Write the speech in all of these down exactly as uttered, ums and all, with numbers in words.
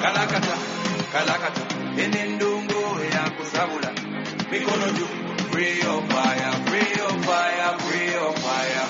Kalakata, kalakata, enendongo eyakusabula. Mikono juu, free your fire, free your fire, free your fire.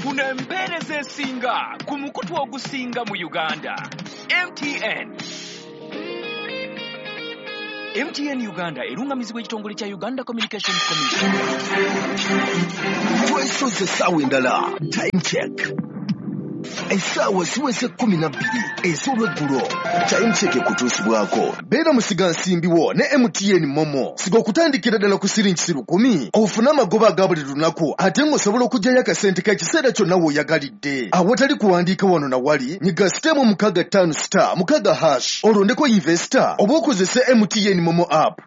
Funa empeereza esinga ku mukutu ogusinga mu Uganda. M T N. M T N Uganda erungamizibwa ekitongole kya Uganda Communications Commission. Twesoze essaawa endala. Time check. Essaawa ziweze kkumi na bbiri ez'olweggulo. Time check ekutuusibwako. Beera musigansimbi wo ne M T N Momo. Siga okutandikira ddala ku siringi lukumi. Ofune amagoba aga buli lunaku ate ng'osobola okuggyayo akasente k'ekiseera kyonna w'oyagalidde. Awatali kuwandiika wano na wali, nyiga sitemu mukaaga ttaano star mukaaga hash olondeko investor oba okozese M T N Momo app.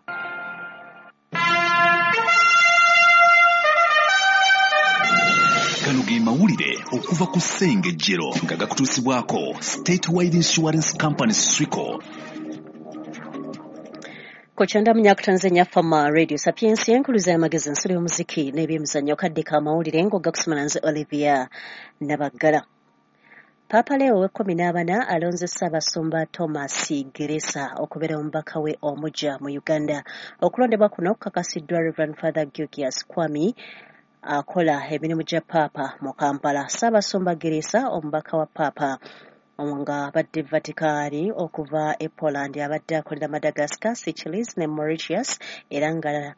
Gano ge mawulire okuva ku Ssengejjero nga gakutuusibwako Statewide Insurance Company Swico. Kochanda munyakutanzanya Fama Radio Sapiensia enkuluza y'amagezi ensolo y'omuziki n'ebyemizannyo kadde k'amawulire ng'ogakusoma nze Olivia Nabaggala. Papa Leo ow'ekkumi n'abana alonze Ssaabasumba Thomas Geresa okubeera omubaka we omujja mu Uganda. Okulondebwa kuno kukakasiddwa Reverend Father Georgius Kwami akola emirimu gya Paapa mu Kampala. Ssaabasumba Geresa omubaka wa Paapa nga abadde Vatikani okuva e Poland, abadde akolera Madagascar, Seychelles ne Mauritius, era nga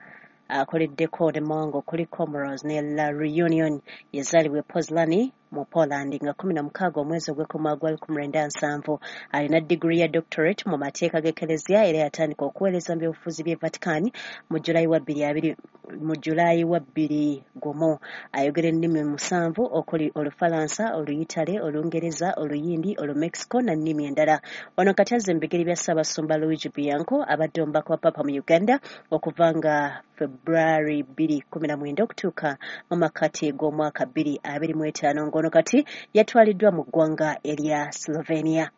akoleddeko ne mawanga okuli Comoros ne La Reunion. Yazaalibwa e Poznan mu Poland nga kkumi na mukaaga omwezi ogw'ekumi gwa lukumi lwenda nsanvu. Alina diguri ya doctorate mu mateeka g'Eklezia era yatandika okuweereza mu byobufuzi by'e Vatican mu Julayi wa bbiri abiri mu Julayi wa bbiri gumu. Ayogera ennimi musanvu okuli Olufalansa, Oluyitale, Olungereza, Oluyindi, Olumexico na nnimi endala. Wano kati azze mu bigere bya Ssaabasumba Luigi Bianco abadde omubaka wa Papa mu Uganda okuva nga February bbiri kkumi na mwenda okutuuka mu makkati g'omwaka bbiri abiri mu etaano, ng'ono kati yatwaliddwa mu ggwanga erya Slovenia.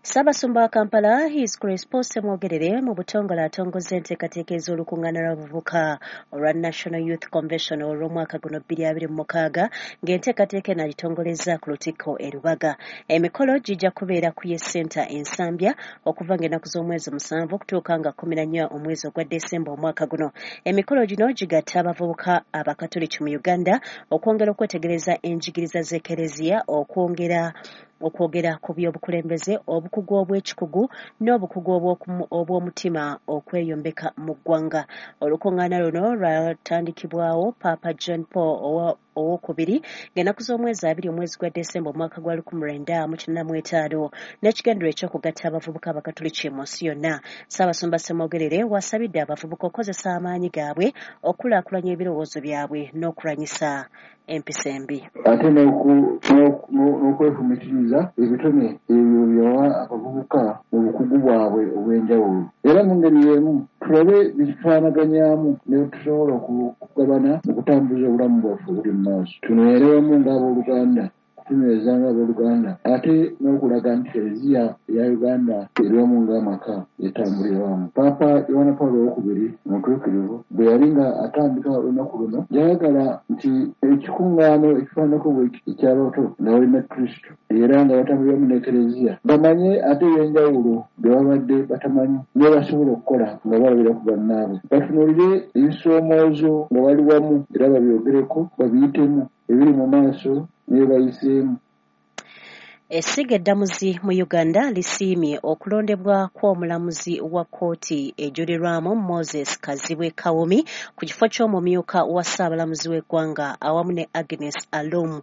Ssaabasumba wa Kampala His Grace Paul Ssemwogerere mu butongole atongozza enteekateeka ez'olukuŋŋaana lw'abavubuka olwa National Youth Convention olw'omwaka guno bbiri abiri mu mukaaga, ng'enteekateeka eno agitongolezza ku Lutikko e Lubaga. Emikolo gijja kubeera ku Yes Center e Nsambya okuva ng'ennaku z'omwezi musanvu okutuuka nga kkumi na nnya omwezi ogwa Desemba omwaka guno. Emikolo gino gigatta abavubuka Abakatoliki mu Uganda okwongera okwetegereza enjigiriza z'Eklezia, okwongera okwogera ku by'obukulembeze, obukugu obw'ekikugu n'obukugu obw'omutima okweyombeka mu ggwanga. Olukuŋŋaana luno lwatandikibwawo Papa John Paul owokubiri ng'ennaku z'omwezi abiri omwezi gwa Desemba omwaka gwa lukumi lwenda mu kinaana mu etaano n'ekigendererwa eky'okugatta abavubuka Abakatoliki mu nsi yonna. Ssaabasumba Ssemwogerere wasabidde abavubuka okukozesa amaanyi gaabwe okukulaakulanya ebirowoozo byabwe n'okulwanyisa empisa embi. Ate n'okwefumitiriza ebitone ebyo byawa abavubuka mu bukugu bwabwe obw'enjawulo. Era mu ngeri y'emu tulabe bitufaanaganyaamu ne tusobola okugabana mu kutambuza obulamu bwaffe obuli mu maaso. Tunywere wamu ng'abooluganda, kutunyweza ng'abooluganda, ate n'okulaga nti Klezia eya Uganda eri wamu ng'amaka etambulira wamu. Paapa Yohana Paulo owokubiri omutuukirivu bwe yali nga atandika olunaku luno, yayagala nti ekikuŋŋaano ekifaananako bwe eky'abato nga balina Kristo era nga batambulira wamu ne Klezia, bamanye ate ebyenjawulo bye babadde batamanyi ne basobola okukola nga balabira ku bannaabwe. Batunuulire ebisoomoozo nga bali wamu era babyogereko, babiyitemu ebiri mu maaso ne bayiseemu. Essiga eddamuzi mu Uganda lisiimye okulondebwa kw'omulamuzi wa kkooti ejulirwamu Moses Kazibwe Kawumi ku kifo ky'omumyuka wa ssaabalamuzi w'eggwanga awamu ne Agnes Alum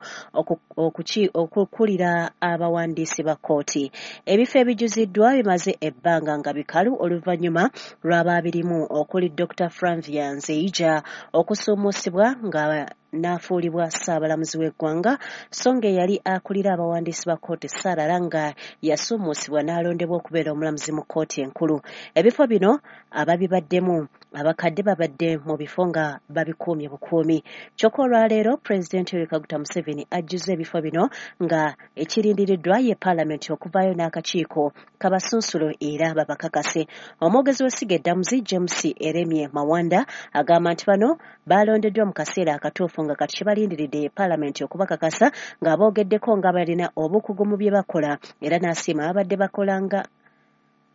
okukulira abawandiisi ba kkooti. Ebifo ebijjuziddwa bimaze ebbanga nga bikalu oluvannyuma lw'abaabirimu okuli Doctor Flavia Nzeija okusuumusibwa nga n'afuulibwa ssaabalamuzi w'eggwanga, so ng'eyali akulira abawandiisi ba kkooti Sarah Langa yasuumusibwa n'alondebwa okubeera omulamuzi mu kkooti enkulu. Ebifo bino ababibaddemu abakadde babadde mu bifo nga babikuumye bukuumi. Kyokka olwaleero Pulezidenti Yoweri Kaguta Museveni ajjuzza ebifo bino nga ekirindiriddwa ye Paalamenti okuvaayo n'akakiiko kabasunsulo era babakakase. Omwogezi w'essiga eddamuzi James Eremye Mawanda agamba nti bano balondeddwa mu kaseera akatuufu basanyufu nga kati kyebalindiridde paalamenti okubakakasa ng'aboogeddeko nga balina obukugu mu bye bakola era n'asiima ababadde bakola nga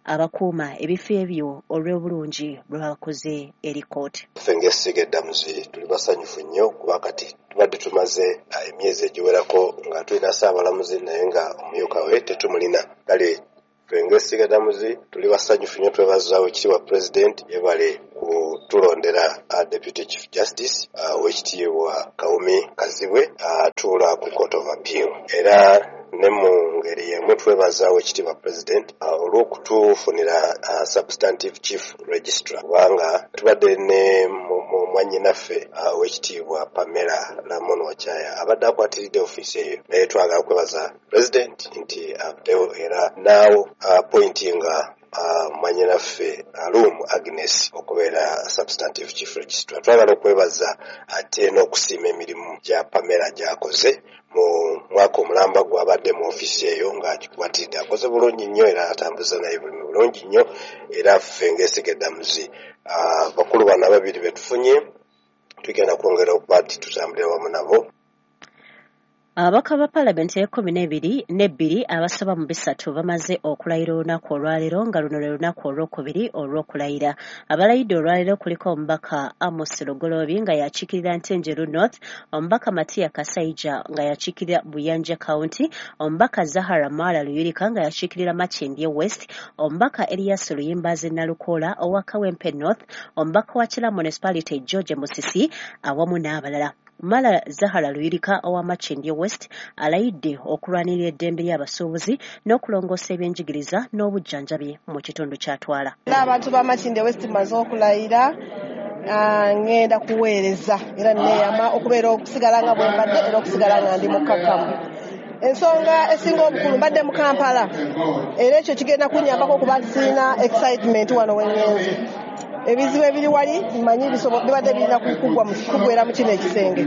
abakuuma ebifo ebyo olw'obulungi bwe bakoze eri kkooti. Ffe ng'essiga eddamuzi tuli basanyufu nnyo kuba kati tubadde tumaze emyezi egiwerako nga tulina ssaabalamuzi naye nga omumyuka we tetumulina. Kale ffe ng'essiga eddamuzi tuli basanyufu nnyo, twebaza Oweekitiibwa Pulezidenti yebale kutulondera Deputy Chief Justice Oweekitiibwa Kawumi Kazibwe atuula ku Court of Appeal. Era ne mu ngeri y'emu twebaza Oweekitiibwa Pulezidenti olw'okutufunira Substantive Chief Registrar kubanga tubadde ne mwannyinaffe Oweekitiibwa Pamela Lamon Wachaya abadde akwatiridde ofiisi eyo, naye twagala kwebaza Pulezidenti nti avuddeyo era naawo appointinga mwannyinaffe Alum Agnes okubeera Substantive Chief Registrar. Twagala okwebaza ate n'okusiima emirimu gya Pamela gy'akoze mu mwaka omulamba gw'abadde mu ofiisi eyo ng'agikwatiridde, akoze bulungi nnyo era atambuza naye bulimi bulungi nnyo. Era ffe ng'essiga eddamuzi bakulu bano ababiri be tufunye tugenda kwongera okuba nti tutambulira wamu nabo. Ababaka ba paalamenti ey'ekkumi n'ebiri n'ebbiri abasoba mu bisatu bamaze okulayira olunaku olwaleero nga luno lwe lunaku olwokubiri olw'okulayira. Abalayidde olwaleero kuliko omubaka Amos Lugoloobi nga yakiikirira Ntenjeru North, omubaka Matia Kasaija nga yakiikirira Buyanja County, omubaka Zahara Mara Luyirika nga yakiikirira Makindye West, omubaka Elias Luyimbazi Nalukoola owa Kawempe North, omubaka wa Kira Municipality George Musisi awamu n'abalala. Mala Zahara Luyirika owa Makindye West alayidde okulwanirira eddembe ly'abasuubuzi n'okulongoosa ebyenjigiriza n'obujjanjabi mu kitundu ky'atwala. N'abantu ba Makindye West mmaze okulayira, ngenda kuweereza era neeyama okubeera okusigala nga bwe mbadde era okusigala nga ndi mukkakkamu. Ensonga esinga obukulu mbadde mu Kampala era ekyo kigenda kunnyambako okuba nti sirina excitement wano we ŋŋenze. Ebizibu ebiri wali mmanyi bibadde birina kuggwera mu kino ekisenge.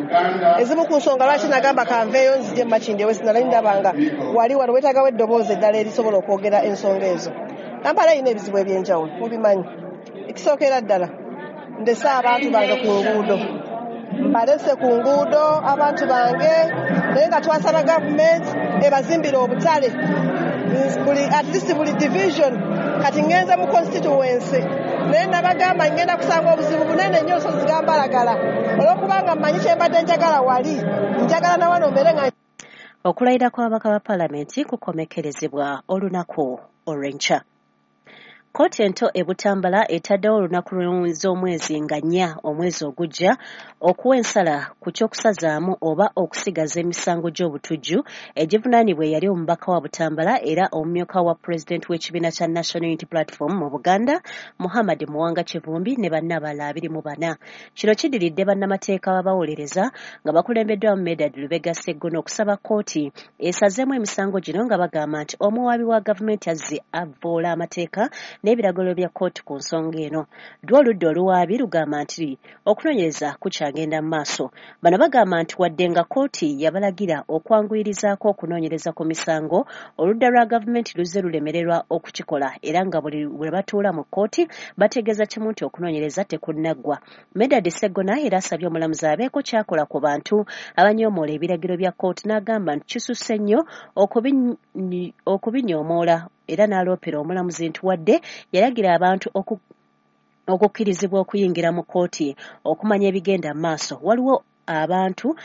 Ezimu ku nsonga lwaki nagamba kanveeyo nzije mu Makindye West, nali ndaba nga wali wano weetaagawo eddoboozi eddala erisobola okwogera ensonga ezo. Kampala erina ebizibu eby'enjawulo mubimanyi. Ekisookera ddala ndese abantu bange ku nguudo, mbalese ku nguudo abantu bange, naye nga twasaba gavumenti ebazimbire obutale buli at least buli division. Kati ngenze mu constituency naye nabagamba ngenda kusanga obuzibu bunene nnyo nsozi gambalagala olw'okubanga mmanyi kye mbadde njagala wali njagala na wano mbeere nga. Okulayira kw'ababaka ba paalamenti kukomekkerezebwa olunaku olw'enkya. Kkooti ento e Butambala etaddewo olunaku z'omwezi nga nnya omwezi ogujja okuwa ensala ku ky'okusazaamu oba okusigaza emisango gy'obutujju egivunaanibwa eyali omubaka wa Butambala era omumyuka wa pulezidenti w'ekibiina kya National Unity Platform mu Buganda Muhammad Muwanga Kivumbi ne banne abalala abiri mu bana. Kino kiddiridde bannamateeka babawolereza nga bakulembeddwamu Medard Lubega Sseggona okusaba kkooti esazeemu emisango gino nga bagamba nti omuwaabi wa gavumenti azze avvoola amateeka n'ebiragiro bya kkooti ku nsonga eno. Ddwa oludda oluwaabi lugamba nti okunoonyereza kukyagenda mu maaso. Bano bagamba nti wadde nga kkooti yabalagira okwanguyirizaako okunoonyereza ku misango, oludda lwa gavumenti luzze lulemererwa okukikola era nga buli lwe batuula mu kkooti bategeeza kimu nti okunoonyereza tekunnaggwa. Medard Sseggona era asabye omulamuzi abeeko ky'akola ku bantu abanyoomoola ebiragiro bya kkooti n'agamba nti kisusse nnyo okubinyoomoola era n'aloopera omulamuzi nti wadde yalagira abantu okukkirizibwa okuyingira mu kkooti okumanya ebigenda mu maaso, waliwo abantu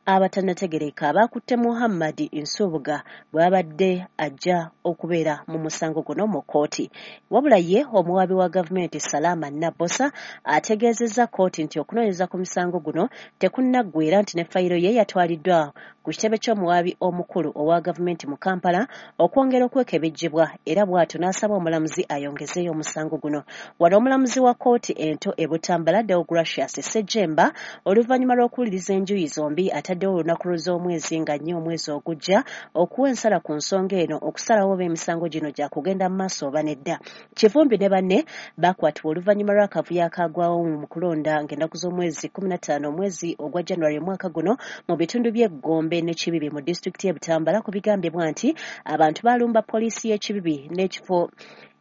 abatannategeereka abaakutte Muhammad Nsubuga bw'abadde ajja okubeera mu musango guno mu kkooti. Wabula ye omuwaabi wa gavumenti Salama Nabbosa ategeezezza kkooti nti okunoonyereza ku misango guno tekunnaggwa nti ne fayiro ye yatwaliddwa ku kitebe ky'omuwaabi omukulu owa gavumenti mu Kampala okwongera okwekebejjebwa era bw'atyo n'asaba omulamuzi ayongezeeyo omusango guno. Wano omulamuzi wa kkooti ento e Butambala Deogratias Ssejjemba oluvannyuma lw'okuwuliriza enjuyi zombi ataddewo olunaku lw'omwezi nga nnya omwezi ogujja okuwa ensala ku nsonga eno okusalawo oba emisango gino gyakugenda mu maaso oba nedda. Kivumbi ne banne bakwatibwa oluvannyuma lw'akavuyo akaagwawo mu kulonda ng'ennaku z'omwezi kkumi na ttaano omwezi ogwa January omwaka guno mu bitundu by'e Gombe Gombe ne Kibibi mu disitulikiti y'e Butambala ku bigambibwa nti abantu baalumba poliisi y'e Kibibi n'ekifo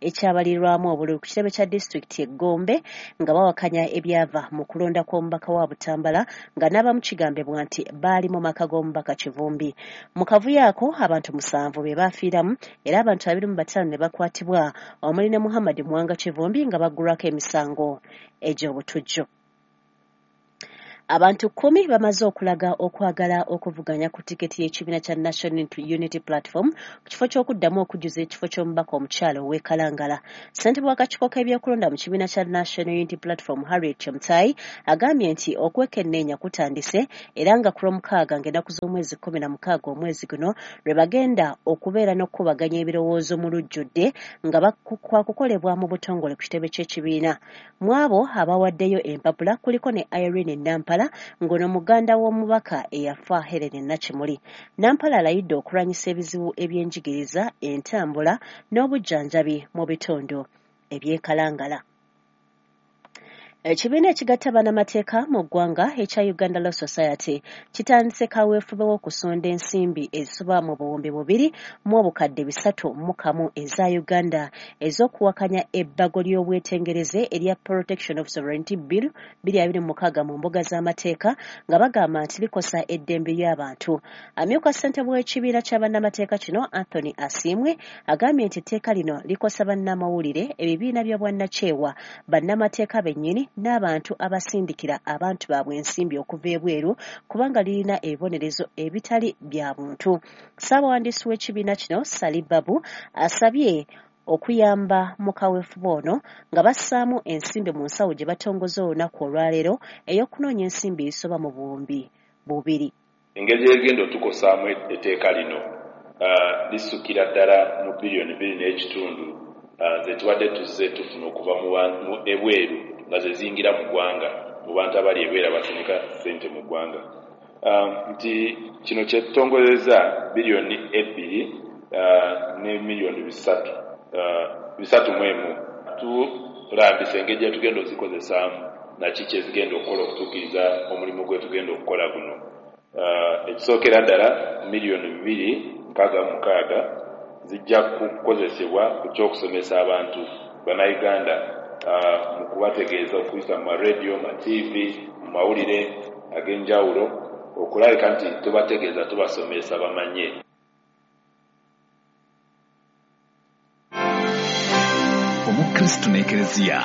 ekyabalirwamu obululu ku kitebe kya disitulikiti e Gombe nga bawakanya ebyava mu kulonda kw'omubaka wa Butambala nga n'abamu kigambibwa nti baali mu maka g'omubaka Kivumbi. Mu kavuyo ako abantu musanvu be baafiiramu era abantu abiri mu bataano ne bakwatibwa omuli ne Muhammad Muwanga Kivumbi nga baggulwako emisango egy'obutujju. Abantu kkumi bamaze okulaga okwagala okuvuganya ku tiketi y'ekibiina kya National Unity Platform ku kifo ky'okuddamu okujjuza ekifo ky'omubaka omukyala ow'e Kalangala. Ssentebe w'akakiiko k'ebyokulonda mu kibiina kya National Unity Platform Harriet Chemutai agambye nti okwekenneenya kutandise era nga ku Lwomukaaga ng'ennaku z'omwezi kkumi na mukaaga omwezi guno lwe bagenda okubeera n'okukubaganya ebirowoozo mu lujjudde nga kwakukolebwa mu butongole ku kitebe ky'ekibiina. Mu abo abawaddeyo empapula kuliko ne Irene Nampala ng'ono muganda w'omubaka eyafa Helen Nakimuli. Nampala alayidde okulwanyisa ebizibu ebyenjigiriza, entambula n'obujjanjabi mu bitundu eby'e Kalangala. Ekibiina ekigatta bannamateeka mu ggwanga ekya Uganda Law Society kitandise kaweefube w'okusonda ensimbi ezisoba mu buwumbi bubiri mu obukadde bisatu mu kamu eza Uganda ez'okuwakanya ebbago ly'obwetengereze erya Protection of Sovereignty Bill bbiri abiri mu mukaaga mu mbuga z'amateeka nga bagamba nti likosa eddembe ly'abantu. Amyuka ssentebe w'ekibiina kya bannamateeka kino Anthony Asiimwe agambye nti etteeka lino likosa bannamawulire, ebibiina by'obwannakyewa, bannamateeka bennyini n'abantu abasindikira abantu baabwe ensimbi okuva ebweru kubanga lirina ebibonerezo ebitali bya buntu. Ssaabawandiisi w'ekibiina kino Sali Babu asabye okuyamba mu kaweefube ono nga bassaamu ensimbi mu nsawo gye batongoza olunaku olwaleero ey'okunoonya ensimbi ezisoba mu buwumbi bubiri. Engeri gy'egenda otukosaamu etteeka lino lisukira ddala mu biliyoni bbiri n'ekitundu ze tubadde tuzze tufuna okuva mu ebweru nga ze ziyingira mu ggwanga mu bantu abali ebweru abasindika ssente mu ggwanga. Nti kino kye tutongozezza biliyoni ebbiri ne miliyoni bisatu bisatu mu emu. Tulambisa engeri gye tugenda ozikozesaamu naki kye zigenda okukola okutuukiriza omulimu gwe tugenda okukola guno. Ekisookera ddala miliyoni bibiri nkaaga mu mukaaga zijja kukozesebwa ku ky'okusomesa abantu bannayuganda mu kubategeeza okuyita mu marediyo, ma T V, mu mawulire ag'enjawulo okulabika nti tubategeeza tubasomesa bamanye. Omukristu n'Ekereziya.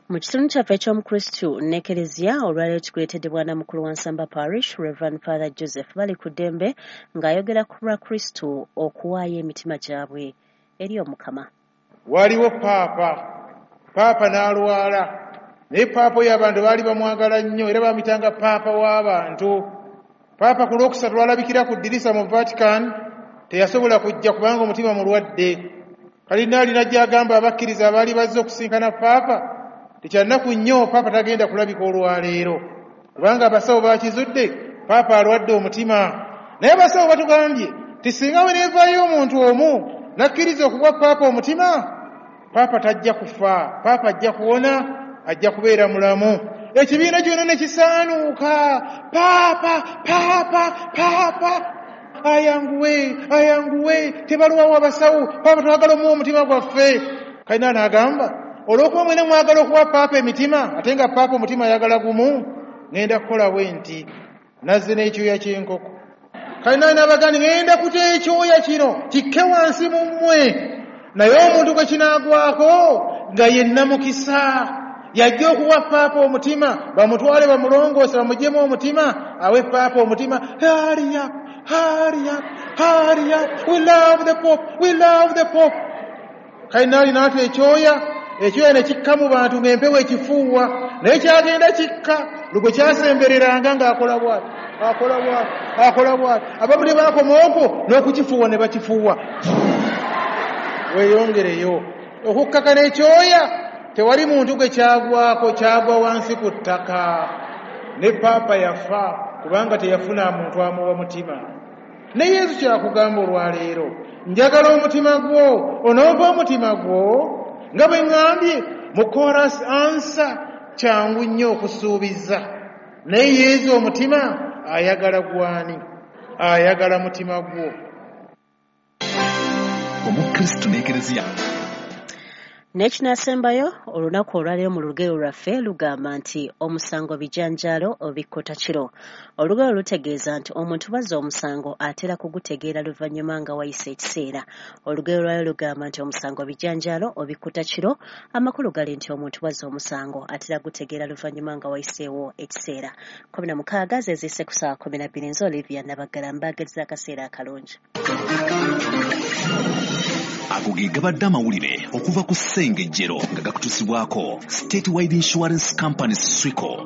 Mu kitundu kyaffe eky'Omukristu n'Ekereziya olwaleero kikuleetedde Bwanamukulu wa Nsamba Parish Reverend Father Joseph Balikuddembe ng'ayogera ku lwa Kristu okuwaayo emitima gyabwe eri Omukama. Waliwo paapa, paapa n'alwala, naye paapa oyo abantu baali bamwagala nnyo era bamuyitanga paapa w'abantu. Paapa ku Lwokusatu lwalabikira ku ddirisa mu Vatican, teyasobola kujja kubanga omutima mulwadde. Kalinaali n'ajja agamba abakkiriza abaali bazze okusinkana paapa tekyannaku nnyo, paapa tagenda kulabika olwaleero kubanga abasawo bakizudde paapa alwadde omutima. Naye abasawo batugambye ti singa we neevaayo omuntu omu n'akkiriza okuwa paapa omutima, paapa tajja kufa, paapa ajja kuwona, ajja kubeera mulamu. Ekibiina kyonna ne kisaanuuka, paapa paapa paapa ayanguwe ayanguwe, tebalwawo abasawo, paapa twagala omuwa omutima gwaffe. Kalina n'agamba olw'okuba mwena mwagala okuwa paapa emitima ate nga paapa omutima ayagala gumu, ŋŋenda kukola bwe nti nazze n'ekyoya ky'enkoko. Kalina n'abagamba ŋŋenda kuta ekyoya kino kikke wansi mu mmwe, naye omuntu gwe kinaagwako nga yenna mukisa yajja okuwa paapa omutima, bamutwale bamulongoose bamuggyemu omutima, awe paapa omutima. Hurry up, hurry up, hurry up, we love the Pope, we love the Pope. Kalinaali n'ata ekyoya, ekyoya ne kikka mu bantu ng'empewo ekifuuwa, naye kyagenda kikka lugwe kyasembereranga ng'akola bw'ati, akola bw'ati, akola bw'ati. Abamu ne baakoma okwo n'okukifuuwa ne bakifuuwa. Weeyongereyo okukkakana ekyoya, tewali muntu gwe kyagwako, kyagwa wansi ku ttaka. Ne paapa yafa kubanga teyafuna muntu amuwa mutima. Ne Yesu kyakugamba olwaleero, njagala omutima gwo, onompa omutima gwo nga bwe ŋŋambye mu chorus answer kyangu nnyo okusuubiza, naye Yesu omutima ayagala gwani? Ayagala mutima gwo. Omukristo n'Ekereziya. N'ekinaasembayo olunaku olwaleero mu lugero lwaffe lugamba nti omusango bijanjaalo obikkota kiro. Olugero lutegeeza nti omuntu bw'azza omusango atera kugutegeera luvannyuma nga wayise ekiseera. Olugero lwaleero lugamba nti omusango bijanjaalo obikkota kiro. Amakulu gali nti omuntu bw'azza omusango atera gutegeera luvannyuma nga wayiseewo ekiseera. Kumi na mukaaga ze zisse ku ssaawa kumi na bbiri. Nze Olivia Nabaggala mbaagaliza akaseera akalungi. Ago ge gabadde amawulire okuva ku Ssengejjero nga gakutuusibwako Statewide Insurance Company Swico.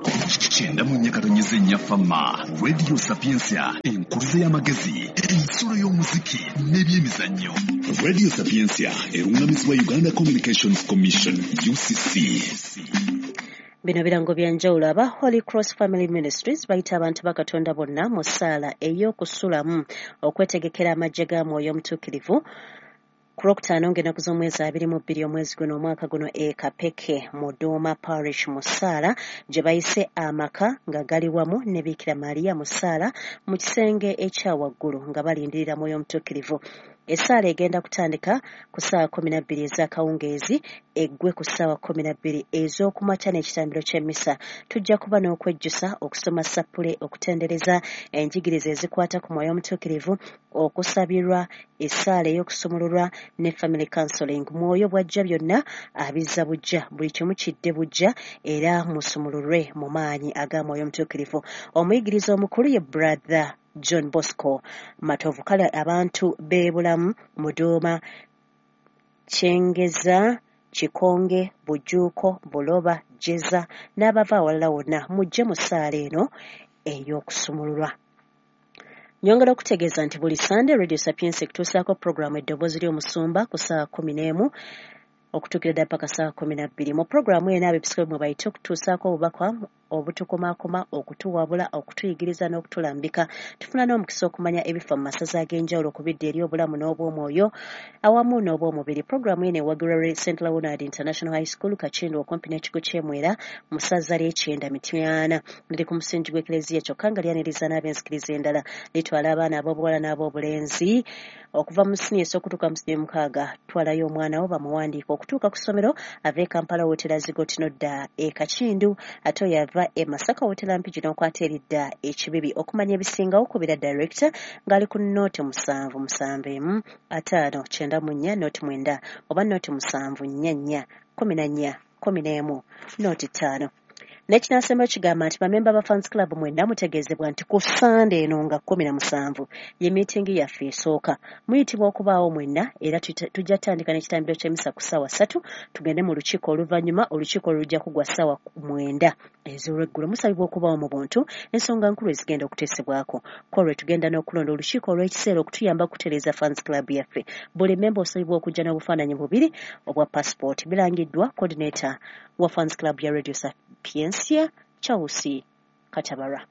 Kyenda mu nnya katonnyeze nnya Fama Radio Sapientia, enkuluze y'amagezi, ensulo y'omuziki n'ebyemizannyo. Radio Sapientia erungamizibwa Uganda Communications Commission U C C. Bino birango bya njawulo. Aba Holy Cross Family Ministries bayita abantu ba Katonda bonna mu ssaala ey'okusulamu okwetegekera amagye ga Mwoyo Omutuukirivu ku Lwokutaano ng'ennaku z'omwezi abiri mu bbiri omwezi guno omwaka guno e Kapeke mu Doma Parish mu ssaala gye bayise amaka nga gali wamu ne Biikira Maria mu ssaala mu kisenge ekya waggulu nga balindirira Mwoyo Omutuukirivu. Essaala egenda kutandika ku ssaawa kkumi na bbiri ez'akawungeezi eggwe ku ssaawa kkumi na bbiri ez'okumakya n'ekitambiro ky'emmisa. Tujja kuba n'okwejjusa, okusoma sappule, okutendereza enjigiriza ezikwata ku Mwoyo Omutuukirivu, okusabirwa, essaala ey'okusumululwa ne family counseling. Mwoyo bw'ajja byonna abizza buggya, buli kimu kidde buggya era musumululwe mu maanyi aga Mwoyo Omutuukirivu. Omuyigiriza omukulu ye Brother John Bosco Matovu. Kale abantu b'e Bulamu, Muduuma, Kyengeza, Kikonge, Bujuuko, Buloba, Jeza n'abava awalala wonna mujje mu ssaala eno ey'okusumululwa. Nyongera okutegeeza nti buli Sande Radio Sapientia ekutuusaako puroguraamu Eddoboozi ly'Omusumba ku ssaawa kkumi n'emu okutuukira ddala paka ssaawa kkumi na bbiri. Mu puroguraamu eno abeepisikoopi mwe bayite okutuusaako obubaka obutukomaakoma, okutuwabula, okutuyigiriza n'okutulambika. Tufuna n'omukisa okumanya ebifa mu masaza ag'enjawulo ku bidda eri obulamu n'obw'omwoyo awamu n'obw'omubiri. Puroguraamu eno ewagirwa Saint Leonard International High School Kakindu okumpi n'ekigo ky'e Mwera mu ssaza ly'Ekyenda Mityana. Liri ku musingi gw'Eklezia kyokka nga lyaniriza n'ab'enzikiriza endala. Litwala abaana ab'obuwala n'ab'obulenzi okuva mu siniya esooka okutuuka mu siniya mukaaga. Twalayo omwana wo bamuwandiike okutuuka ku ssomero ava e Kampala wootera Zigoti n'odda e Kakindu, ate oyo ava e Masaka wootera Mpigi n'okwata eridda e Kibibi. Okumanya ebisingawo kubira director ng'ali ku nooti musanvu musanvu emu ataano kyenda mu nnya nooti mwenda oba nooti musanvu nnya nnya kkumi na nnya kkumi n'emu nooti ttaano. N'ekinaasembayo kigamba nti bamemba ba Fans Club mwenna mutegeezebwa nti ku Sande eno nga kkumi na musanvu ye miitingi yaffe esooka. Muyitibwa okubaawo mwenna era tujja kutandika n'ekitambiro ky'emmisa ku ssaawa ssatu tugende mu lukiiko oluvannyuma. Olukiiko lujja kugwa ssaawa mwenda ez'olweggulo. Musabibwa okubaawo mu buntu ensonga nkulu ezigenda okuteesebwako. Ku olwo tugenda n'okulonda olukiiko olw'ekiseera okutuyamba okutereeza Fans Club yaffe. Buli memba osabibwa okujja n'obufaananyi bubiri obwa passport. Birangiddwa coordinator wa Fans Club ya Radio Sapientia, Chausi Katabara.